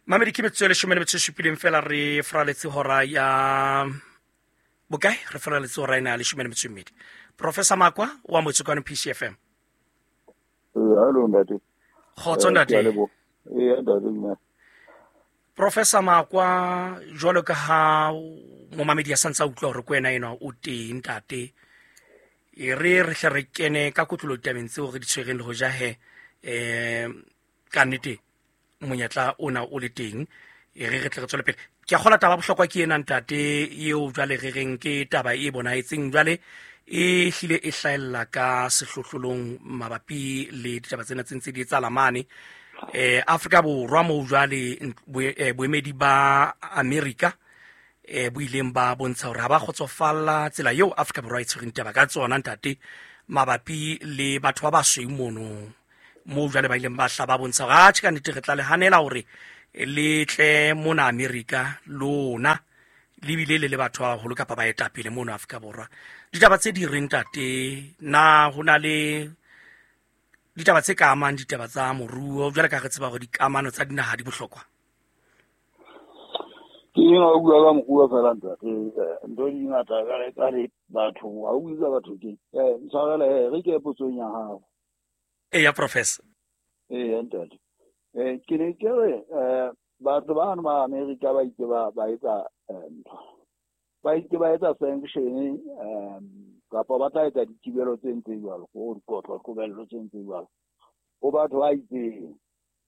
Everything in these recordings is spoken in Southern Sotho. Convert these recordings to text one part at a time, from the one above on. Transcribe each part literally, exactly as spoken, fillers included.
Mamedi, ke metsotso e leshome le metso e supileng fela re fraletse hora ya bokae? Re fraletse hora ena ya leshome le metso e mmedi. Professor Makwa wa Motsekwane P C F M. Hello ntate. Kgotso ntate. Ee ntate nna. Professor Makwa, jwalo ka ha momamedi a santse a utlwa hore ke wena enwa o teng ntate. E re re hle re kene ka kotlolo ditabeng tseo re di tshwereng le ho ja he, eh ka nnete monyetla ona o le teng, e re re tle re tswele pele. Ke a kgolwa taba bohlokwa ke ena ntate, eo jwale re reng ke taba e bonahetseng jwale e hlile e hlahella ka sehlohlolong mabapi le ditaba tsena tse ntse di etsahala mane. Eh Afrika Borwa moo jwale boemedi ba Amerika eh bo ileng ba bontsha hore ha ba kgotsofalla tsela eo Afrika Borwa e tshwereng taba ka tsona ntate, mabapi le batho ba basweu mono moo jwale ba ileng ba hla ba bontsha hore atjhe ka nnete re tla le hanela hore le tle mona Amerika lona le bile le le batho ba baholo kapa baetapele mono Afrika Borwa. Ditaba tse di reng ntate, na ho na le ditaba tse ka amang ditaba tsa moruo jwale ka re tseba hore dikamano tsa dinaha di bohlokwa? Ke eng ha o bua ka moruo fela ntate, ntho di ngata ka re ka re batho, ha o bua ka batho ke eh ntshwarele, re ke potsong ya hao. Eya professor. Eya ntate. Eh ke ne ke re eh batho bano ba Amerika ba itse ba ba etsa ntho. Ba itse ba etsa sanction um kapa ba tla etsa dithibelo tse ntse jwalo, go dikotlo qobello tse ntse jwalo. Ho batho ba itseng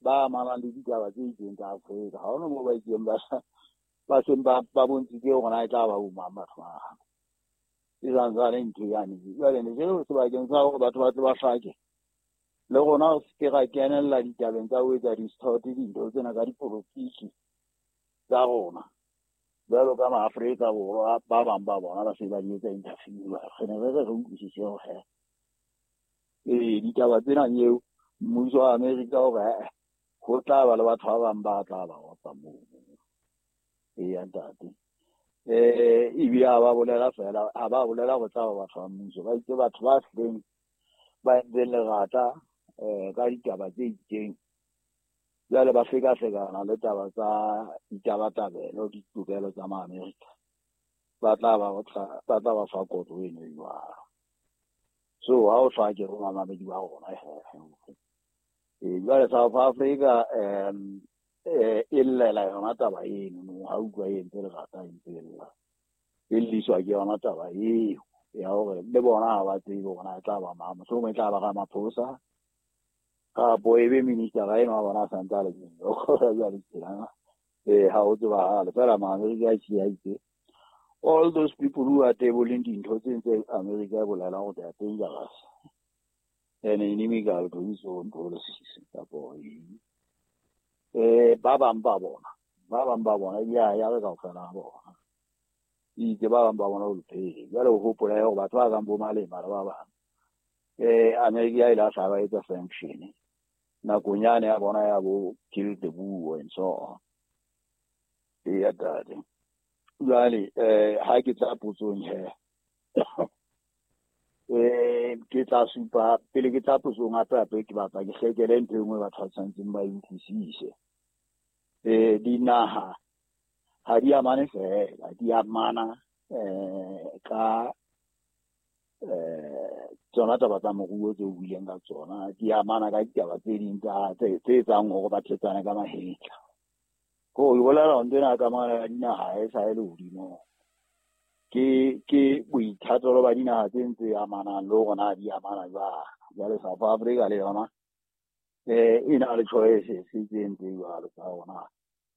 ba amanang le ditaba tse itseng tsa Afrika. Ha hona moo ba itseng ba ba seng ba ba bontshitse hore na e tla ba bo mang batho ba. E santsane ntho yane. Jwale ne ke re sebakeng sa hore batho ba tle ba hlake, le rona re se ke ra kenella ditabeng tsa ho etsa di-distort dintho tsena ka dipolotiki tsa rona. Jwalo ka ma-Afrika Borwa ba bang ba bona ba se ba di etsa interfere. Re ne re re re utlwisise hore ee ditaba tsena eo mmuso wa Amerika hore ho tla ba le batho ba bang ba tla ba otla moo. Eya ntate. Eh ebile ha ba bolela fela, ha ba bolela ho tla ba batho ba mmuso, ba itse batho ba hleng ba entseng lerata eh ka ditaba tse itseng. Jwale ba hlekahlekana le taba tsa ditabatabelo, ditokelo tsa ma-Amerika. Ba tla ba otla, ba tla ba fa kotlo eno e jwalo. So ha o hlake ho mamamedi ba rona he. Eh jwale South Africa um eh e llela yona taba eno, no ha utlwa e entse lerata e ntse e lla. E lliswa ke yona taba eo ya hore le bona ha ba tsebe hore na e tla ba mang, mohlomong e tla ba Ramaphosa kapo e be minister eno wa bona a santse a le teng. Jwale tjena eh ha ho tsebahale fela ma-Amerika a tjhe a itse all those people who are tabling dintho tse ntse Amerika e bolela hore they are dangerous and inimical to his own policies kapo eng. Eh ba bang ba bona, ba bang ba bona ya ya re kaofela ha bona. Itse ba bang ba bona o phele. Jwale o hopola hore batho ba kang bo Malema le ba bang eh Amerika e ile ya hla ba etsa sanction nakong yane ya bona ya bo kill the Boer and so on. Eya ntate. Jwale eh ha ke tla potsong he eh ke tla supa pele ke tla potsong hape hape ke batla ke hlekele ntho e nngwe batho ba tshwanetseng ba e utlwisise. Eh dinaha ha di amane fela, di amana eh ka eh tsona taba tsa moruo tse o buileng ka tsona, di amana ka ditaba tse ding tsa tse tse etsang hore ba thetsane ka mahetla. Ko e bolela ntho ena kamano ya dinaha e sa e le hodimo. Ke ke boithatelo ba dinaha tse ntse amanang le hore na di amana jwang. Jwale South Africa le yona eh e na le choice tse ntse jwalo tsa rona.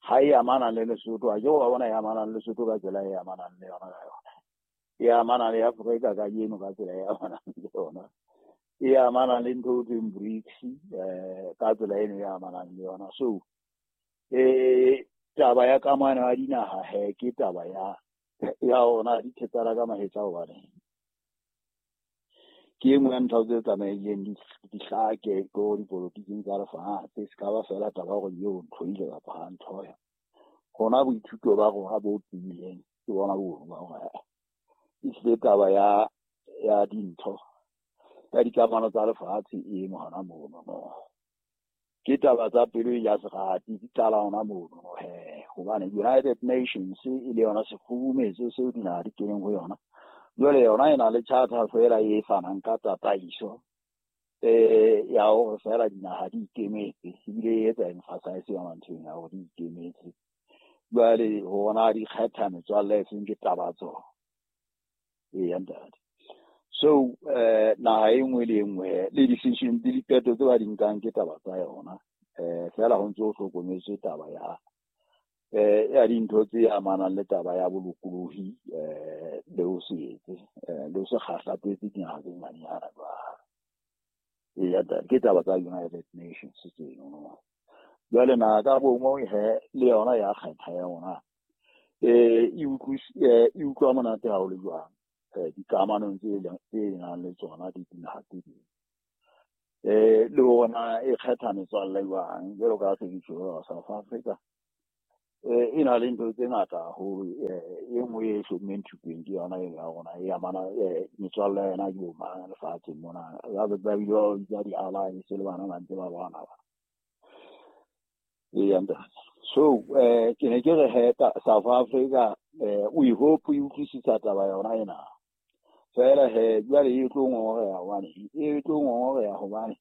Ha e amana le Lesotho, ha ke wa bona e amana le Lesotho ka tsela e amanang le yona ka yona. E amana le Afrika kajeno ka tsela e amanang le yona. E amana le ntho e thweng BRICS eh ka tsela eno e amanang le yona. So eh taba ya kamano ya dinaha he ke taba ya ya ona di thetsana ka mahetla hobane ke e nngwe ya ntho tse tsamaileng di di hlake ko dipolotiking tsa lefatshe. Se ka ba fela taba hore eo ntho ile kapa ha ntho ya rona boithuto ba rona bo tiileng ke bona bo ba hore ehlile taba ya ya dintho ya dikamano tsa lefatshe e eme hona mono no. Ke taba tsa pelo ya serati di qala hona mono he, hobane United Nations e le yona sekgurumetso seo dinaha di keneng ho yona. Jwale yona e na le charter fela e fanang ka tataiso eh ya hore fela dinaha di ikemetse, ebile e etsa emphasize yona ntho ena ya hore di ikemetse. Jwale hona di kgetha metswalle e seng ke taba tsona. Eya ntate. So eh naha e nngwe le e nngwe le decision le diqeto tse ba di nkang ke taba tsa yona. Eh fela ho ntse ho hlokometswe taba ya eh ya dintho tse amanang le taba ya bolokolohi eh le ho se etse eh le ho se kgahlapetse dinaha tse nyenyana jwalo. Eya ntate, ke taba tsa United Nations tseno. Jwale naha ka bongwe he le yona ya kgetha ya yona eh e utlwis- eh, e utlwa monate ha o le jwang eh dikamanong tse leng tse nang le tsona di dinaha tse ding. Eh le hore e kgetha metswalle jwang, jwalo ka se ke tjho South Africa eh e na le ntho tse ngata haholo. Eh e nngwe e hlommeng thupeng ke yona e ya rona e amana eh metswalle ya yona ke bo mang lefatsheng mona. Ba ba bile ba bitsa di-alliance le bana ba ntse ba lwana ba. Eya ntate. So eh ke ne ke re he South Africa eh we hope e utlwisisa taba yona ena. Fela he jwale e tlo ngongoreha hobane e tlo ngongoreha hobane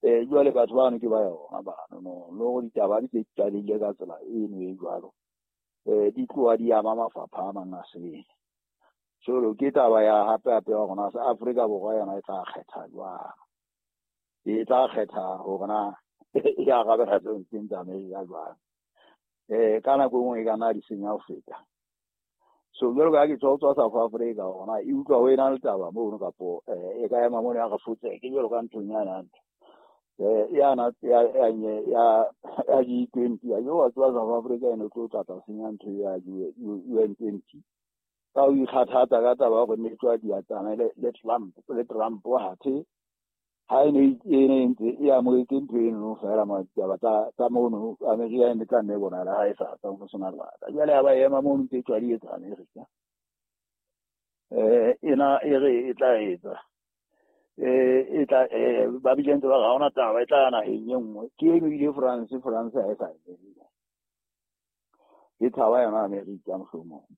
eh jwale batho bano ke ba yona bano no le hore ditaba di se qadile ka tsela eno e jwalo eh di tloha di ama mafapha a mang a sele. So ke taba ya hape hape ya rona Afrika Borwa yona e tla kgetha jwang, e tla kgetha hore na e arabela tseo tse tsa Amerika jwang. Eh ka nako e nngwe e ka nna di senya ho feta. So jwalo ka ha ke tswa tswa South Africa hona e utlwa ho ena le taba mono kapo eh e ka ema mono ya re fotse ke jwalo ka nthong ya nang eh ya na ya ya ya ya G twenty ya yo tswa South Africa ene tlo tla tla senya ntho ya U N twenty ka o ikgathatsa ka taba ya hore ne tswa di atsana le le Trump le Trump wa hathe ha ene e ne ntse e amohetse ntho eno fela ma taba tsa tsa mono Amerika e ne tla nne bona ha e sa tsa ho sona lebaka. Jwale ha ba ema mono ntse tswa di etsa Amerika eh ena e re e tla etsa eh e tla eh ba bile ntse ba ga ona taba e tla naheng e nngwe ke eno ile France France ha e sa e e tshaba yona Amerika mohlomong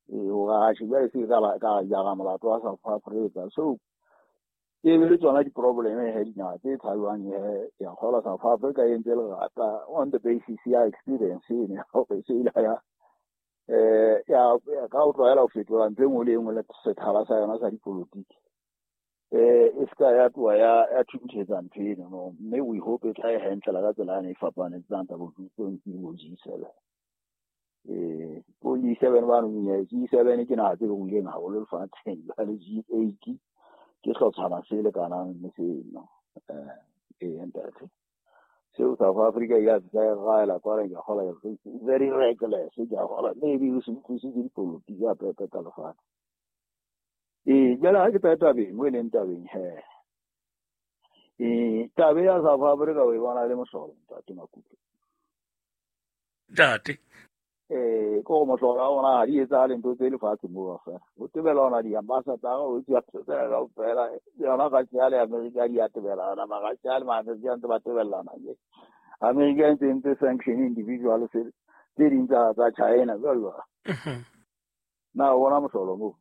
e o ga se ba se ka ba ka jara molato wa South Africa. So e be le tsona di-problem he dinaha tse tshabang he ya kgola South Africa e ntse lerata on the basis ya experience ene hore se ile ya eh ya ka o tlwaela ho fetola ntho e nngwe le e nngwe le sethala sa yona sa dipolotiki eh e ska ya tloha ya ya thunthetsa ntho eno no, mme we hope e tla e handlela ka tsela ane e fapaneng tsang tsa bo twenty bo G seven eh bo G seven ba no G seven ke naha tse ruileng haholo lefatsheng jwale G eight ke hlotshwana se lekanang le seno eh e ntate. Seo South Africa ya tsa gaela kwa re ke gola very reckless ke gola maybe o se utlwisise dipolotiki ya pepe ka lefatshe. Eh jwale ha ke tla tabeng mo e leng tabeng he eh tabe ya South Africa o e bona le mohlolo ntate Makutlwe ntate eh ko mohlolo wa ona ha di etsahale ntho tse lefatshe moo fela o tebela ona di-ambassador o tswa tsela kaofela yona Russia le Amerika di a tebelana ma Russia le ma Amerika ntse ba tebellana ke Amerika ntse ntse sanction individual tse ding tsa tsa China jwalo jwalo. Na o bona mohlolo moo?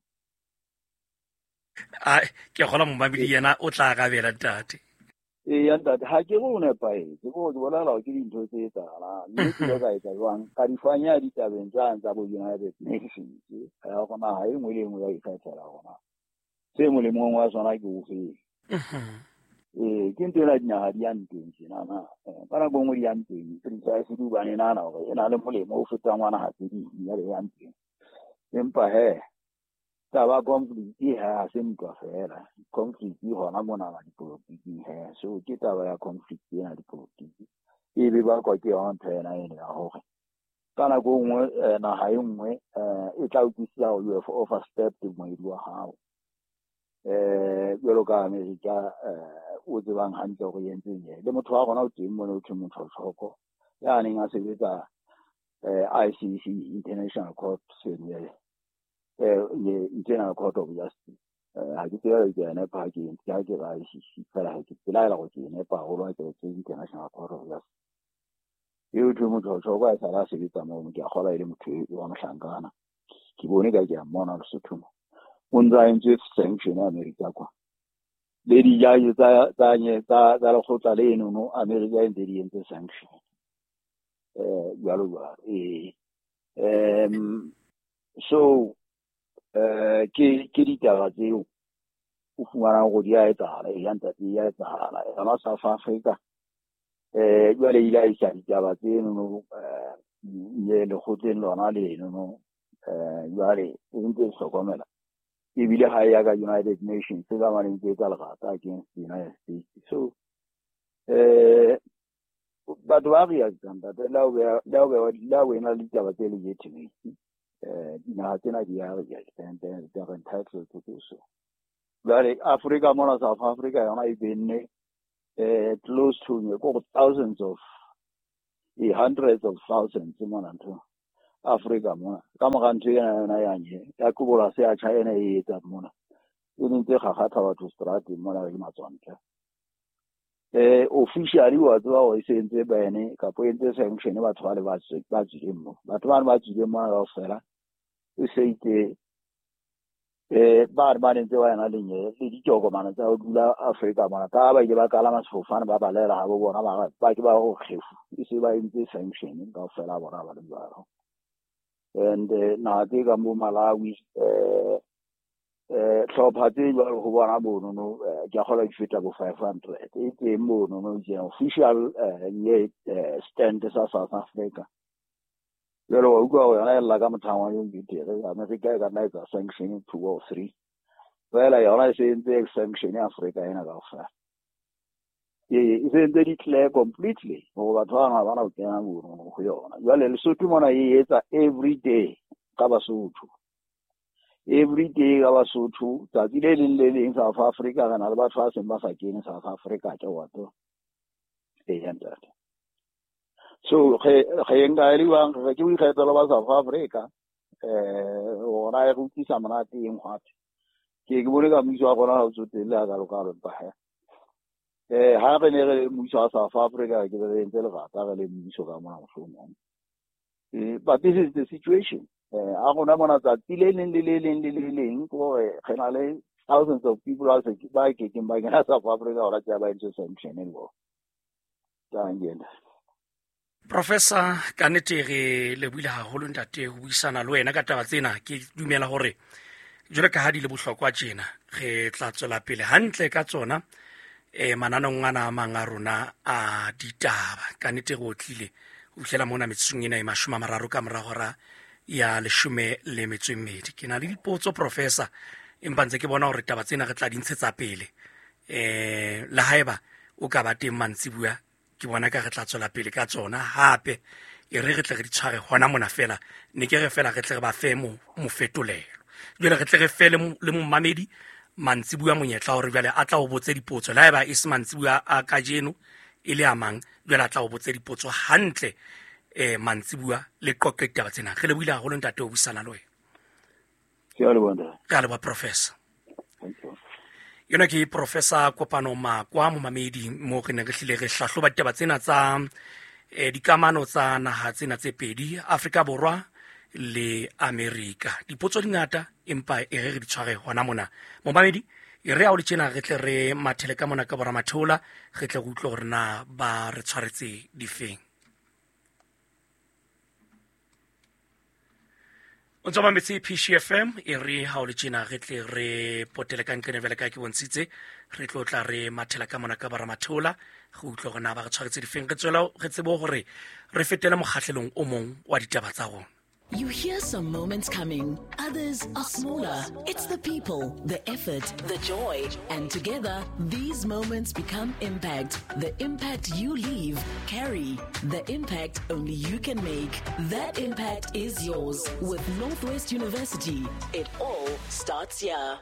A ke kgola momamedi yena o tla arabela ntate. Eya ntate, ha ke re o nepahetse, ke gore ke bolela hore ke dintho tse etsahalang mme ke ile ka etsa jwang ka di fanya ditabeng tsane tsa bo United Nations ya hore naha e nngwe le e nngwe ya ikgethela hore na se molemong wa sona ke ofeng. Eh ke ntho ena dinaha di yang teng tjenana ka nako e nngwe di yang teng precisely hobane e nahana hore e na le molemo o fetang wa naha tse ding jwale e yang teng. Empa he taba conflict ha se ntwa fela, conflict hona mona dipolotiking he. So ke taba ya conflict ena dipolotiki e be bakwa ke yona ntho ena eno ya hore ka nako e nngwe naha e nngwe e tla utlwisisa hore you have overstepped moedi wa hao eh jwalo ka Amerika eh o tsebang hantle hore e entseng le motho wa rona o teng mona o thwe motho Tshoko ya neng a sebetsa eh I C C International Court eh International Court of Justice Ha ke tsebe ke a nepa ha ke ha ke ra I C C fela ha ke pelaela gore ke e nepa haholo ha ke re International Court of Justice. Eo thwe motho wa a sala a sebetsa moo, ke a kgolwa e le motho wa mohlankana. Ke bone ka ke a mmona Lesotho mo. O ntse a entse sanction America kwa. Le dijaji tsa tsa tsa tsa lekgotla leno no America e ntse di entse sanction. Eh jwalo jwalo. Eh um so eh ke ke ditaba tseo o fumanang gore di a etsahala, e ya ntate e a etsahala. Yona South Africa eh jwale ile a isa ditaba tseno no eh lekgotleng lona leno no eh jwale e ntse e hlokomela. Ebile ha e ya ka United Nations ka mane ntse etsa lerata against the United States. So eh batho ba reactang ntate le ha o ena le ditaba tse legitimate, eh dinaha tsena di a react and they are entitled to do so. Jwale Africa mona South Africa yona e benne eh close to ko thousands of e hundreds of thousands mona ntho Africa mona ka mora ntho ena yona ya nye ya kobola se ya China e etsa mona e ntse gagatha batho strateng mona ke matswantle. Eh officially wa tseba hore e se entse bene kapo e entse sanction batho ba le ba ba tswileng mo batho ba ba tswileng mona kaofela e se itse eh ba re ba ntse ba ena le nye le ditokomane tsa ho dula Afrika mona ka ba ile ba kalama sefofane ba balela ha bo bona ba ba ke ba go kgefu e se ba entse sanction kaofela bona ba le jwalo. And naha tse kang bo Malawi eh eh tlhopha tse jwalo ho bona mono no ke a kgolwa di feta bo five hundred e teng mono no je official nye stand sa South Africa. Jwale wa utlwa hore yona e lla ka mothang wa yong betere America e ka nna etsa sanction two or three fela yona e se entse sanction Africa ena kaofela. E se entse di clear completely hore batho bana ha bana ho kena mono ho yona. Jwale Lesotho mona e etsa every day ka Basotho. Every day ka Basotho tsatsi le leng le leng South Africa re na le batho ba seng ba sa kene South Africa ke wa to. E ya ntate. So ge ge nka e le bang re ke boikgethelo ba South Africa eh ona e re utlwisa monate eng gape. Ke ke bone ka mmuso wa rona ha o tsotelle a ka loka ba. Eh ha re ne re mmuso wa South Africa ke re entse lerata re le mmuso ka mona mohlomong. Eh but this is the situation. Eh a rona mona tsatsi le leng le le leng le le leng gore re na le thousands of people ba se ba kekeng ba kena South Africa hore tsa ba entse sanction e bo. Tangena. Professor ka nnete re lebohile haholo ntate ho buisana le wena ka taba tsena. Ke dumela hore jwalo ka ha di le bohlokwa tjena re tla tswela pele hantle ka tsona eh mananong ana a mang a rona a ditaba. Ka nnete re otlile ho fihlela mona metsotsong ena e mashome a mararo ka mora hora ya leshome le metso e mmedi. Ke na le dipotso Professor empa ntse ke bona hore taba tsena re tla di ntshetsa pele eh le haeba o ka ba teng mantsibuya ke bona ka re tla tswela pele ka tsona hape e re re tle re di tshware hona mona fela ne ke re fela re tle re ba fe mo mofetolelo jwale re tle re fe le momamedi mantsibuya monyetla hore jwale a tla o botse dipotso le haeba e se mantsibuya a kajeno e le a mang jwale a tla o botse dipotso hantle eh mantsibuya le qoqe ditaba tsena. Re lebohile haholo ntate ho buisana le wena. Ke a leboha ntate. Ke a leboha Professor. Thank you. Yona ke Professor Kopano Makwa momamedi mo re ne re hlile re hlahloba ditaba tsena tsa eh dikamano tsa naha tsena tse pedi Afrika Borwa le Amerika. Dipotso di ngata empa e re re di tshware hona mona. Momamedi e re ha o le tjena re tle re mathele ka mona ka bora matheola re tle re utlwe hore na ba re tshwaretse difeng. O ntse o mametse P C F M e re ha o le tjena re tle re potele ka nqene vele ka ke bontshitse re tlo tla re mathela ka mona ka bara matheola re utlwe hore na ba re tshwaretse difeng re tswela re tsebe hore re fetele mokgahlelong o mong wa ditaba tsa rona. You hear some moments coming, others are smaller. It's the people, the effort, the joy, and together, these moments become impact. The impact you leave, carry. The impact only you can make. That impact is yours. With Northwest University, it all starts here.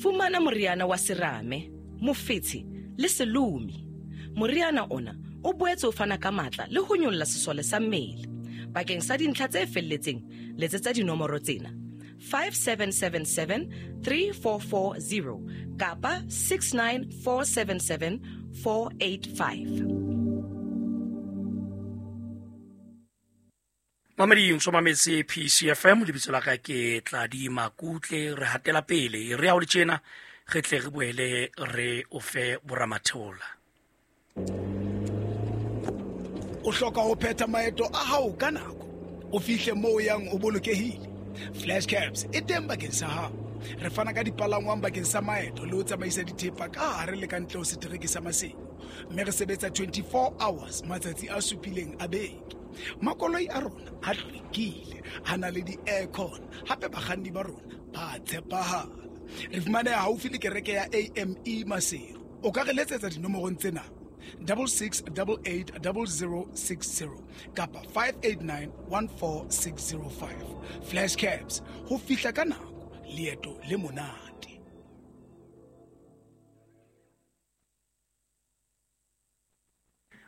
Fumana moriana wa serame, mofetshe le selomi. Moriana ona o boetse o fana ka matla le ho nyolla sesole sa mmele. Bakeng sa dintlha tse felletseng, letsetsa dinomoro tsena: five seven seven seven three four four zero kapa six nine four seven seven four eight five. Mamedi o mametse P C F M, lebitso la ka ke Tladi Makutle. Re hatela pele re ya ho le tjena, re tle re boele re o fe boramatheola. O hloka ho phetha maeto a hao ka nako, o fihle moo o yang o bolokehile. Flash Cabs e teng bakeng sa hao. Re fana ka dipalangwang bakeng sa maeto le ho tsamaisa dithepa ka hare le ka ntle ho setereke sa Maseru, mme re sebetsa twenty-four hours matsatsi a supileng a beke. Makoloi a rona a hlwekile, a na le di-aircon, hape bakganni ba rona ba tshepahala. Re fumaneha haufi le kereke ya A M E Maseru. O ka re letsetsa dinomorong tsena: double six double eight double zero six zero kapa five eight nine one four six zero five. Flash Cabs, ho fihla ka nako, leeto le monate.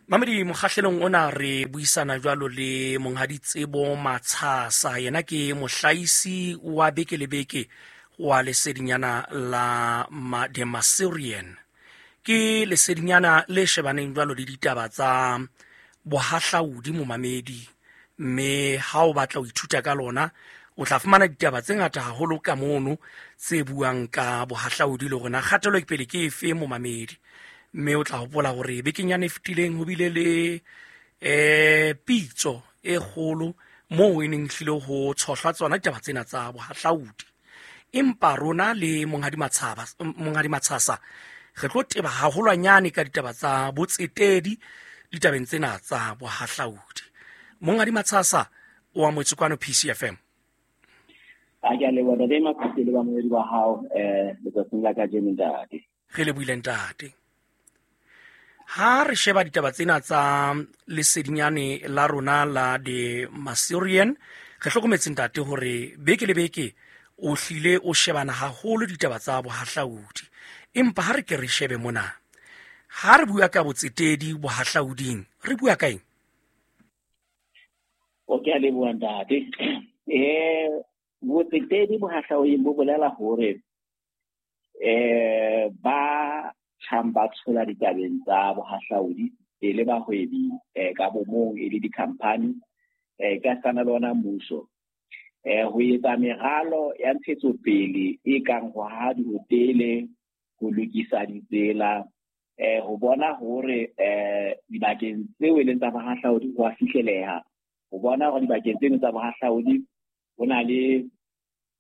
Mamedi, mokgahlelong ona re buisana jwalo le Monghadi Tsebo Matshasa. Yena ke mohlaisi wa beke le beke wa lesedinyana la ma, The Maserian. Ke lesedinyana le shebaneng jwalo le ditaba tsa bohahlaudi momamedi, mme ha o batla ho ithuta ka lona o tla fumana ditaba tse ngata haholo ka mono tse buang ka bohahlaudi le rona kgatelo pele ke efe momamedi. Mme o tla hopola hore bekeng yane e fetileng ho bile le eh pitso e kgolo moo e neng hlile ho tshohlwa tsona ditaba tsena tsa bohahlaudi. Empa rona le Monghadi Matshaba, Monghadi Matshasa re tlo teba haholwanyane ka ditaba tsa botsetedi ditabeng tsena tsa bohahlaudi. Monghadi Matshasa o amohetswe kwano P C F M. A ke a leboha ntate Makutle le bamamedi ba hao eh letsatsing la kajeno ntate. Re lebohile ntate. Ha re sheba ditaba tsena tsa lesedinyane la rona la The Maserian, re hlokometse ntate hore beke le beke o hlile o shebana haholo ditaba tsa bohahlaudi. Empa ha re ke re shebe mona, ha re bua ka botsetedi bohahlauding, re bua ka eng? O ke a leboha ntate. Eh botsetedi bohahlauding bo bolela hore eh ba tjhang ba tshola ditabeng tsa bohahlaudi e le bahwebi eh ka bomong e le di-company eh ka sana le ona mmuso eh ho etsa meralo ya ntshetsopele e kang ho haha dihotele, ho lokisa ditsela, eh ho bona hore eh dibakeng tseo e leng tsa bohahlaudi ho a fihleleha, ho bona hore dibakeng tseno tsa bohahlaudi ho na le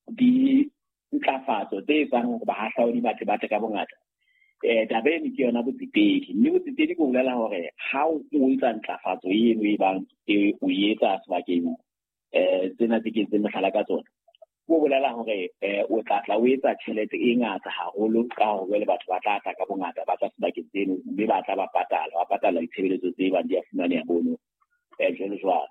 dintlafatso tse etsang hore bahahlaudi ba tle ba tle ka bongata. Eh taba eno ke yona botsetedi, mme botsetedi bo bolela hore ha o etsa ntlafatso eno e bang o etsa sebakeng eh tsena tse ke entseng mohlala ka tsona, bo bolela hore eh o tla tla o etsa tjhelete e ngata haholo ka hore jwale batho ba tla tla ka bongata ba tla sebakeng tseno, mme ba tla ba patala, ba patala ditshebeletso tse bang di a fumaneha mono eh jwalo jwalo.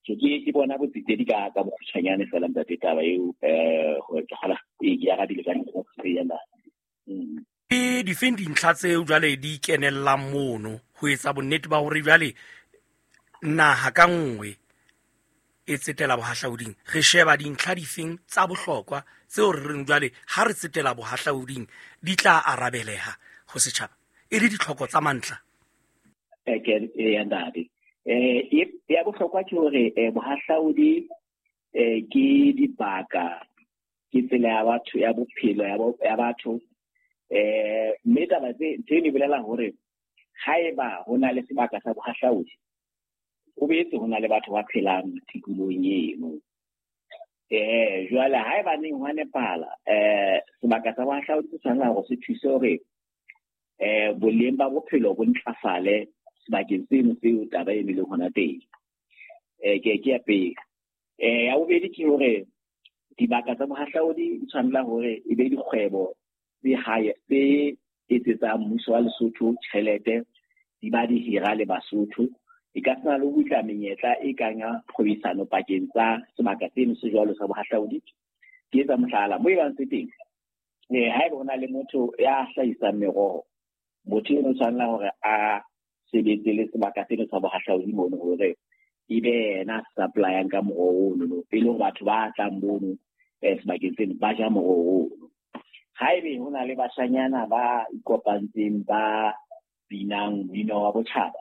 So ke ke bona botsetedi ka ka bokgutshwanyane fela ntate taba eo eh hore ke kgola e ke arabile ka nako e ya ntate. Ke difeng dintlha tseo jwale di kenellang mono ho etsa bonnete ba hore jwale naha ka nngwe e tsetela bohahlauding? Re sheba dintlha difeng tsa bohlokwa tseo re reng jwale ha re tsetela bohahlauding di tla arabeleha ho setjhaba e le ditlhoko tsa mantlha? Eh ke ya ntate. Eh ya bohlokwa ke hore bohahlaudi eh ke dibaka, ke tsela ya batho ya bophelo ya batho. Eh mme taba tse tse di bolela hore haeba ho na le sebaka sa bohahlaudi, ho boetse ho na le batho ba phelang tikolohong eno. Eh jwale haeba neng ho nepahala eh sebaka sa bohahlaudi se tshwanela hore se thuse hore eh boleng ba bophelo bo ntlafale sebakeng seno seo taba e leng hona teng. Eh ke ke ya pele. Eh ya bobedi ke hore dibaka tsa bohahlaudi di tshwanela hore e be dikgwebo tse hae tse etsetsang mmuso wa Lesotho tjhelete, di ba di hira le Basotho. E ka sena le ho butla menyetla e kang ya kgwebisano pakeng tsa sebaka seno se jwalo sa bohahlaudi. Ke etsa mohlala mo e bang se teng, eh haeba ho na le motho ya hlahisang meroho, motho eno o tshwanela hore a sebetse le sebaka seno sa bohahlaudi mono hore ebe yena a supplyang ka moroho ono, e le hore batho ba tlang mono eh sebakeng seno ba ja moroho ono. Haebe ho na le bashanyana ba ikopantseng ba binang mmino wa botjhaba,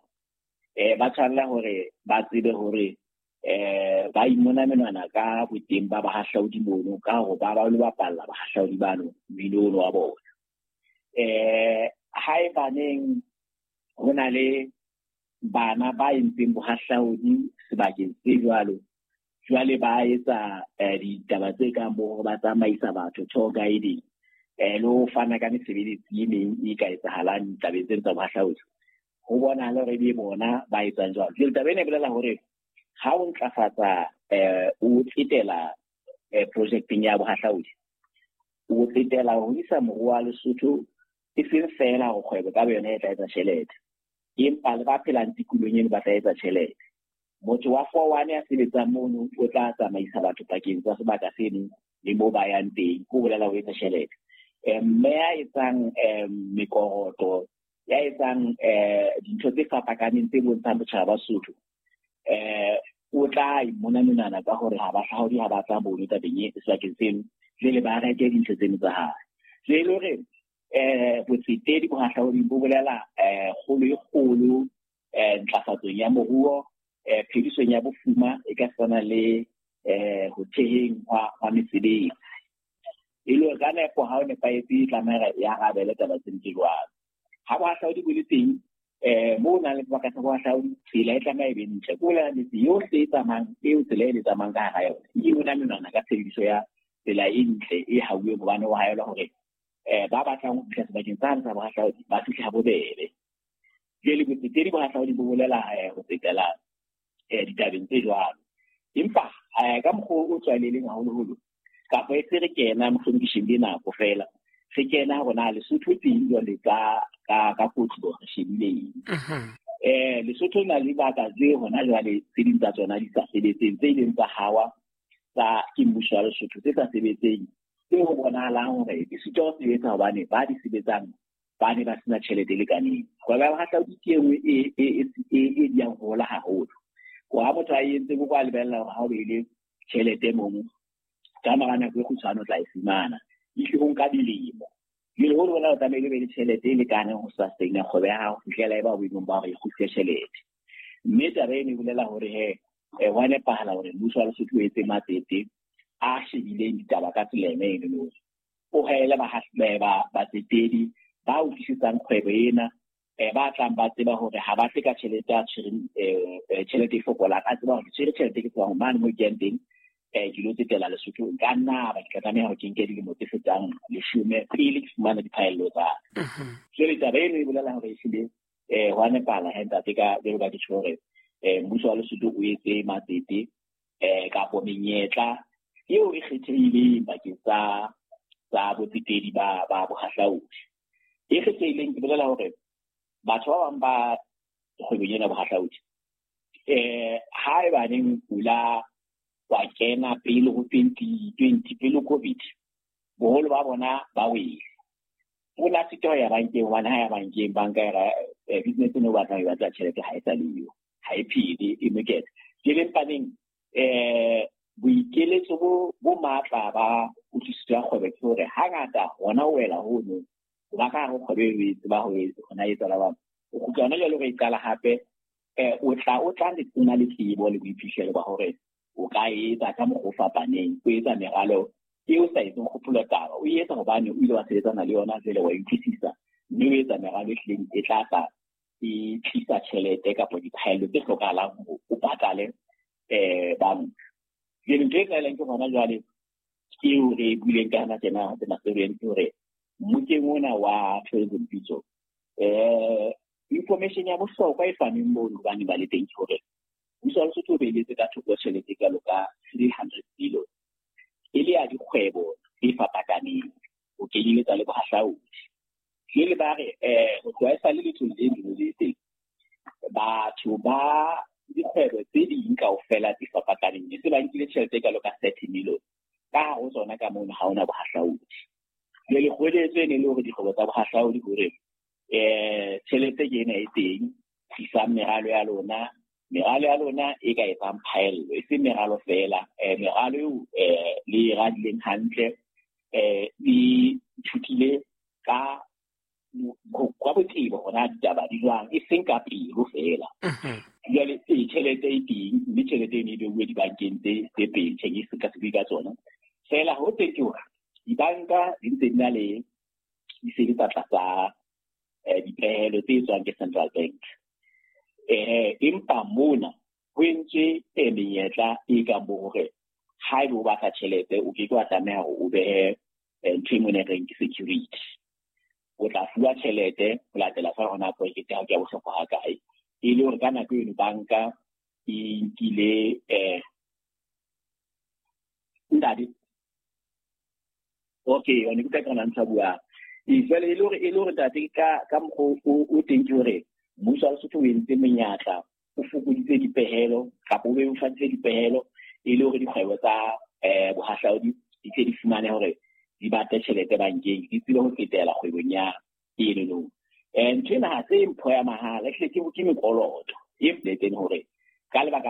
eh ba tshwanela hore ba tsebe hore eh ba imona menwana ka boteng ba bahahlaudi mono, ka hore ba ba lo bapalla bahahlaudi bano mmino ono wa bona. Eh haebaneng ho na le bana ba entseng bohahlaudi sebakeng se jwalo, jwale ba etsa ditaba tse kang bo hore ba tsamaisa batho tour guiding, eh le ho fana ka mesebetsi e meng e ka etsahalang ditabeng tseno tsa bohahlaudi, ho bonahala hore ebe bona ba etsang jwalo. Jwale taba ena e bolela hore ha o ntlafatsa eh o tsetela eh projecteng ya bohahlaudi, o tsetela ho isa moruo wa Lesotho e seng feela hore kgwebo ka boyona e tla etsa tjhelete, empa le ba phelang tikolohong eno ba tla etsa tjhelete. Motho wa four one ya sebetsang mono o tla tsamaisa batho pakeng tsa sebaka seno le moo ba yang teng, ho bolela ho etsa tjhelete. Mme ya etsang mekoroto, ya etsang dintho tse fapakaneng tse bontshang botjhaba ba Sotho, eh o tla imona menwana ka hore ha bahlaodi ha ba tla mono tabeng e sebakeng seno, jwale ba reke dintho tseno tsa hae. Jwale hore eh botsetedi bohahlaudi bo bolela eh kgolo e kgolo eh ntlafatsong ya moruo, eh phedisong ya bofuma e ka tshwana le eh ho theheng hwa mesebetsi. E le hore ka nepo ha o nepahetse e tlameha ya arabele taba tseno tse jwalo. Ha bohahlaudi bo le teng, eh moo o nang le sebaka sa bohahlaudi, tsela e tlameha e be ntle. Ke bolela metse yohle e tsamayang, eo tsela e le tsamayang ka hara yona, e yona menwana ka tshebediso ya tsela e ntle e hauweng, hobane ho haelwa hore eh ba batlang ho fihla sebakeng sane sa bohahlaudi ba fihle ha bobebe. Jwale botsetedi bohahlaudi bo bolela ho tsetela eh ditabeng tse jwalo. Empa ka mokgwa o tlwaelehileng haholoholo, kapa e se re kena mohlomong ke shebile nako feela, re kena hore na Lesotho teng jwale ka ka ka kotlo re shebile eng. Eh Lesotho na le dibaka tse hona jwale tse ding tsa tsona di sa sebetseng, tse ileng tsa hawa tsa ke mmuso wa Lesotho tse sa sebetseng, tse ho bonahalang hore di sitwa ho sebetsa hobane ba di sebetsang ba ne ba sena tjhelete e lekaneng. Kgwebo ya bohahlaudi ke e nngwe e e e e diyang ho hola haholo. Ha motho a entse ko kwa lebella hore ha o behile tjhelete mono, ka mora nako e kgutshwane o tla e fumana, ehlile ho nka dilemo. Jwale ho bona o tlamehile o be le tjhelete e lekaneng ho sustain kgwebo ya hao ho fihlela e ba boemong ba hore e kgutlise tjhelete. Mme taba eno e bolela hore he ho a nepahala hore mmuso wa Lesotho o etse matsete a shebileng ditaba ka tsela ena eno, o haele batsetedi ba utlwisisang kgwebo ena, eh ba tlang ba tseba hore ha ba tle ka tjhelete a tshwereng eh tjhelete e fokolang, a tseba hore ke tshwere tjhelete ke tsebang mane mo ke yang teng, eh ke lo tsetela Lesotho, nka nna ba ke tla tlameha hore ke nke dilemo tse fetang leshome pele ke fumana diphaello tsa ka. Jwale taba eno e bolela hore ehlile eh ho a nepahala he ntate, ka jwalo ka ke tjho hore eh mmuso wa Lesotho o etse matsete eh kapo menyetla eo e kgethehileng bakeng tsa tsa botsetedi ba ba bohahlaudi. E kgethehileng ke bolela hore batho ba bang ba kgwebong ena bohahlaudi, eh haebaneng pula wa kena pele ho twenty twenty, pele COVID, boholo ba bona ba wele. O la sitwa ho ya bankeng, hobane ha ya bankeng, banka e ra business eno o batlang ho e batla tjhelete ha e sa le yo, ha e phele, e mokete. Jwale mpaneng eh boikeletso bo bo matla ba kutlwisiso ya kgwebo ke hore hangata hona o wela hono, ba ka hare ho kgwebo eo e tseba ho hona etsa la bang. O kgutla hona jwale o e qala hape, eh o tla o tla le tsena le tsebo le boiphihlelo ba hore o ka etsa ka mokgwa o fapaneng, o etsa meralo eo sa etseng kgopolo taba, o etsa hobane o ile wa sebetsana le yona jwale wa e utlwisisa, mme o etsa meralo e hlileng e tla tla e tlisa tjhelete kapa diphaello tse hlokahalang hore o patale eh banka. Jwale ntho e tlwaelehang ke hona jwale eo re e buileng ka yona tjena tjena ke hore mmokeng ona wa tourism pitso, eh information ya bohlokwa e fanweng mono hobane ba le teng ke hore mmuso wa Lesotho o beeletse ka thoko tjhelete e kalo ka three hundred billion e le ya dikgwebo tse fapakaneng ho kenyeletsa le bohahlaudi. Jwale ba re eh ho tloha e sale letholo le leng le teng, batho ba dikgwebo tse ding kaofela tse fapakaneng ne se ba nkile tjhelete e kalo ka thirty million, ka hare ho tsona ka mono ha hona bohahlaudi. Jwale kgoeletso e ne le hore dikgwebo tsa bohahlaudi hore eh tjhelete ke ena e teng, tlisang meralo ya lona, Meralo ya lona e ka etsang phaello, e seng meralo feela, eh, meralo eo eh, le e radileng hantle, eh, le ithutile ka ka botebo hore na ditaba di jwang, e seng ka pelo feela. Jwale ee, tjhelete e teng, mme tjhelete eno e beuwe dibankeng tse tse pedi, tjhe ke ka se bue ka tsona. Feela ho teng ke hore dibanka di ntse di na le di sebetsa tlasa eh, dipehelo tse tswang ke Central Bank. Eh, empa mona ho entswe eh, menyetla e kang bo hore haeba o batla tjhelete o ke ke wa tlameha hore o behe eh, ntho e mona e reng ke security. O tla fuwa tjhelete ho latela feela hore na project ya hao ke ya bohlokwa ha kae. E le hore ka nako eno banka e nkile eh ntate. Okay, one ke utlwa ke rona ntho a buang. Ee, jwale e le hore e le hore ntate ka ka mokgwa o o teng ke hore mmuso wa Lesotho o entse menyatla, o fokoditse dipehelo kapa o bebofaditse dipehelo e le hore dikgwebo tsa eh bohahlaudi di tle di fumane hore di batle tjhelete bankeng, di tsebe ho tsetela kgwebong ya enono. Eh ntho ena ha se mpho ya mahala, ehlile ke ke mekoloto e boletseng hore ka lebaka